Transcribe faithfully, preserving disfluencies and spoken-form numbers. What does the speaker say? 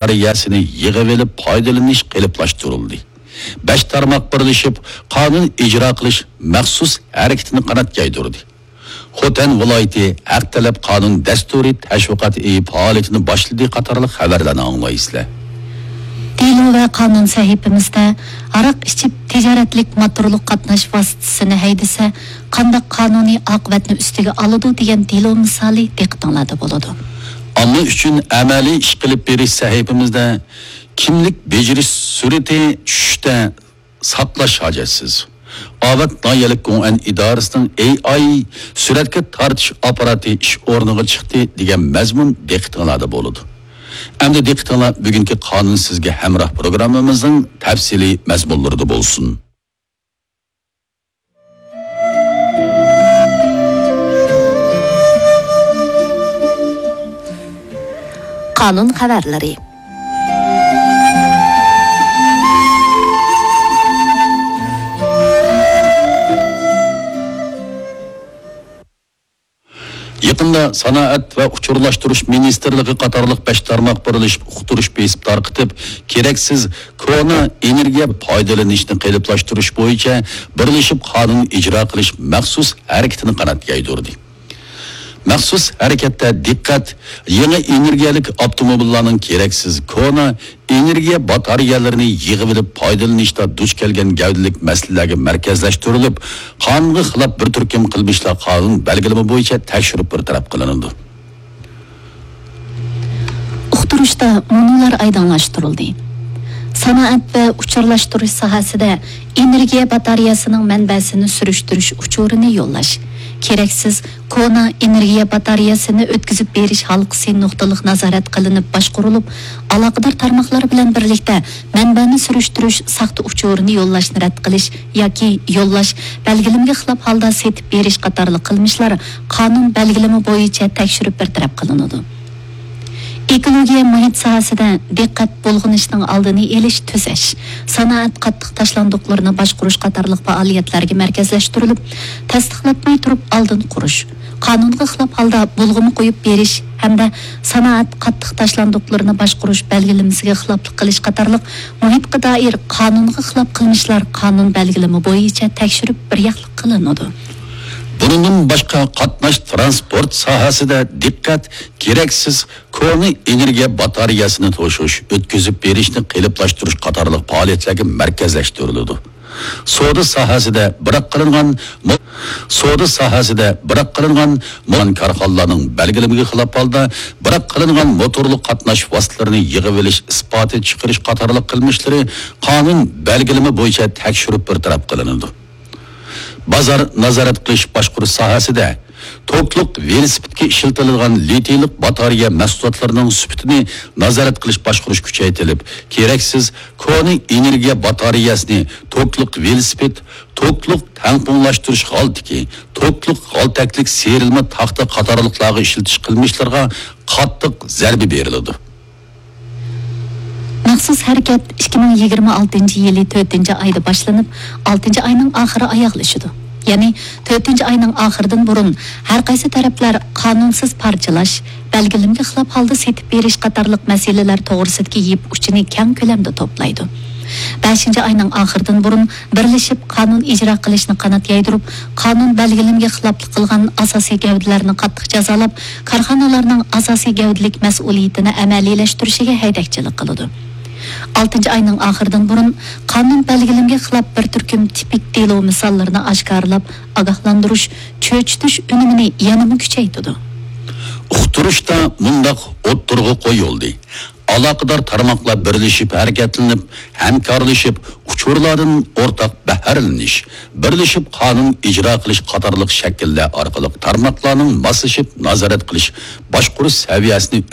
باتارېيەسىنى يىغىۋېلىپ پايدىلىنىش قېلىپلاشتۇرۇلدى. بەش تارماق بىرلىشىپ قانۇن ئىجرا قىلىش مەخسۇس ھەرىكىتىنى قانات يايدۇردى. خوتەن ۋىلايىتى ھەق تەلەپ قانۇن دەستۇرى تەشۋىقات ئېيى پائالىيىتىنى باشلىدى قاتارلىق خەۋەرلەرنى ئاڭلايسىلەر. دېلو ۋە قانۇن سەھىپىمىزدە ھاراق ئىچىپ تىجارەتلىك موتورلۇق قاتناش ۋاسىتىسىنى ھەيدىسە، قانداق قانۇنىي ئاقىۋەتنى ئۈستىگە ئالىدۇ دېگەن دېلو مىسالى دىققىتىڭلاردا بولىدۇ. ئامما ئۈچۈن ئەمەلىي ئىش قىلىپ بېرىش سەھىپىمىزدە كىملىك بېجىرىش سۈرئىتى چۈشۈشتە ساقلاش ھاجەتسىز. ئاۋات ناھىيەلىك گوڭئەن ئىدارىسىنىڭ ئېي ئاي سۈرەتكە تارتىش ئاپپاراتى ئىش ئورنىغا چىقتى دېگەن مەزمۇن دىققىتىڭلاردا بولىدۇ. ئەمدى دىققىتىڭلار بۈگۈنكى قانۇن سىزگە ھەمراھ پروگراممىمىزنىڭ تەپسىلىي مەزمۇنلىرىدا بولسۇن. قانۇن خەۋەرلىرى. يېقىندا سانائەت ۋە ئۇچۇرلاشتۇرۇش مىنىستىرلىقى قاتارلىق بەش تارماق بىرلىشىپ ئۇقتۇرۇش بېسىپ تارقىتىپ، كېرەكسىز كونا ئېنېرگىيە پايدىلىنىشنى قېلىپلاشتۇرۇش بويىچە بىرلىشىپ قانۇن ئىجرا قىلىش مەخسۇس ھەرىكىتىنى قانات يايدۇردى. مەخسۇس ھەرىكەتتە دىققەت يېڭى ئېنېرگىيەلىك ئاپتوموبىللارنىڭ كېرەكسىز كونا ئېنېرگىيە باتارېيەلىرىنى يىغىۋېلىپ پايدىلىنىشتا دۇچ كەلگەن گەۋدىلىك مەسىلىلەرگە مەركەزلەشتۈرۈلۈپ، قانۇنغا خىلاپ بىر تۈركۈم قىلمىشلار قانۇن بەلگىلىمە بويىچە تەكشۈرۈپ بىر تەرەپ قىلىنىدۇ. ئۇقتۇرۇشتا مۇنۇلار ئايدىڭلاشتۇرۇلدى. سانائەت ۋە ئۇچۇرلاشتۇرۇش ساھەسىدە ئېنېرگىيە باتارېيەسىنىڭ مەنبەسىنى سۈرۈشتۈرۈش ئۇچۇرىنى يوللاش، كېرەكسىز كونا ئېنېرگىيە باتارېيەسىنى ئۆتكۈزۈپ بېرىش ھالقىسى نۇقتىلىق نازارەت قىلىنىپ باشقۇرۇلۇپ، ئالاقىدار تارماقلار بىلەن بىرلىكتە مەنبەنى سۈرۈشتۈرۈش ساختا ئۇچۇرىنى يوللاشنى رەت قىلىش ياكى يوللاش، بەلگىلىمىگە خىلاپ ھالدا سېتىپ بېرىش قاتارلىق قىلمىشلار قانۇن بەلگىلىمە بويىچە تەكشۈرۈپ بىر تەرەپ قىلىنىدۇ. ئېكولوگىيە مۇھىت ساھەسىدە دىققەت بۇلغىنىشنىڭ ئالدىنى ئېلىش، تۈزەش، سانائەت قاتتىق تاشلاندۇقلىرىنى باشقۇرۇش قاتارلىق پائالىيەتلەرگە مەركەزلەشتۈرۈلۈپ، تەستىقلاتماي تۇرۇپ ئالدىن قۇرۇش، قانۇنغا خىلاپ ھالدا بۇلغىما قويۇپ بېرىش ھەمدە سانائەت قاتتىق تاشلاندۇقلىرىنى باشقۇرۇش بەلگىلىمىسىگە خىلاپلىق قىلىش قاتارلىق مۇھىتقا دائىر قانۇنغا خىلاپ قىلمىشلار قانۇن بەلگىلىمە بويىچە تەكشۈرۈپ بىر ياقلىق قىلىنىدۇ. بۇنىڭدىن باشقا، قاتناش تىرانسپورت ساھەسىدە دىققەت كېرەكسىز كونا ئېنېرگىيە باتارېيەسىنى توشۇش، ئۆتكۈزۈپ بېرىشنى قېلىپلاشتۇرۇش قاتارلىق پائالىيەتلەرگە مەركەزلەشتۈرۈلىدۇ. سودا ساھەسىدە بىراق قىلىنغان مو-، سودا ساھەسىدە بىراق قىلىنغان مو-، كارخانىلارنىڭ بەلگىلىمىگە خىلاپ ھالدا بىراق قىلىنغان موتورلۇق قاتناش ۋاسىتىلىرىنى يىغىۋېلىش ئىسپاتى چىقىرىش قاتارلىق قىلمىشلىرى قانۇن بەلگىلىمە بويىچە تەكشۈرۈپ بىر تەرەپ قىلىنىدۇ. بازار نازارەت قىلىش باشقۇرۇش ساھەسىدە توكلۇق ۋېلىسىپىتكە ئىشلىتىلىدىغان لىتىيلىق باتارېيە مەھسۇلاتلىرىنىڭ سۈپىتىنى نازارەت قىلىش باشقۇرۇش كۈچەيتىلىپ، كېرەكسىز كونا ئېنېرگىيە باتارېيەسىنى توكلۇق ۋېلىسىپىت، توكلۇق تەڭپۇڭلاشتۇرۇش غالتىكى، توكلۇق غالتەكلىك سىيرىلما تاختا قاتارلىقلارغا ئىشلىتىش قىلمىشلىرىغا قاتتىق زەربە بېرىلىدۇ. مەخسۇس ھەرىكەت ئىككى مىڭ يىگىرمە ئالتىنچى يىلى تۆتىنچى ئايدا باشلىنىپ، ئالتىنچى ئاينىڭ ئاخىرى ئاياغلىشىدۇ. يەنى تۆتىنچى ئاينىڭ ئاخىرىدىن بۇرۇن ھەر قايسى تەرەپلەر قانۇنسىز پارچىلاش، بەلگىلىمىگە خىلاپ ھالدا سېتىپ بېرىش قاتارلىق مەسىلىلەر توغرىسىدىكى يىپ ئۇچىنى كەڭ كۆلەمدە توپلايدۇ. بەشىنچى ئاينىڭ ئاخىرىدىن بۇرۇن بىرلىشىپ قانۇن ئىجرا قىلىشنى قانات يايدۇرۇپ، قانۇن بەلگىلىمىگە خىلاپلىق قىلغان ئاساسىي گەۋدىلەرنى قاتتىق جازالاپ، كارخانىلارنىڭ ئاساسىي گەۋدىلىك مەسئۇلىيىتىنى ئەمەلىيلەشتۈرۈشىگە ھەيدەكچىلىك قىلىدۇ. ئالتىنچى ئاينىڭ ئاخىرىدىن بۇرۇن قانۇن بەلگىلىمىگە خىلاپ بىر تۈركۈم تىپىك دېلو مىساللىرىنى ئاشكارىلاپ، ئاگاھلاندۇرۇش، چۆچۈتۈش ئۈنۈمىنى يەنىمۇ كۈچەيتىدۇ. ئۇقتۇرۇشتا مۇنداق ئوتتۇرىغا قويۇلدى. ئالاقىدار تارماقلار بىرلىشىپ ھەرىكەتلىنىپ، ھەمكارلىشىپ، ئۇچۇرلاردىن ئورتاق بەھرىلىنىش، بىرلىشىپ قانۇن ئىجرا قىلىش قاتارلىق شەكىللەر ئارقىلىق تارماقلارنىڭ ماسلىشىپ نازارەت قىلىش، باشقۇرۇش سەۋىيەسىنى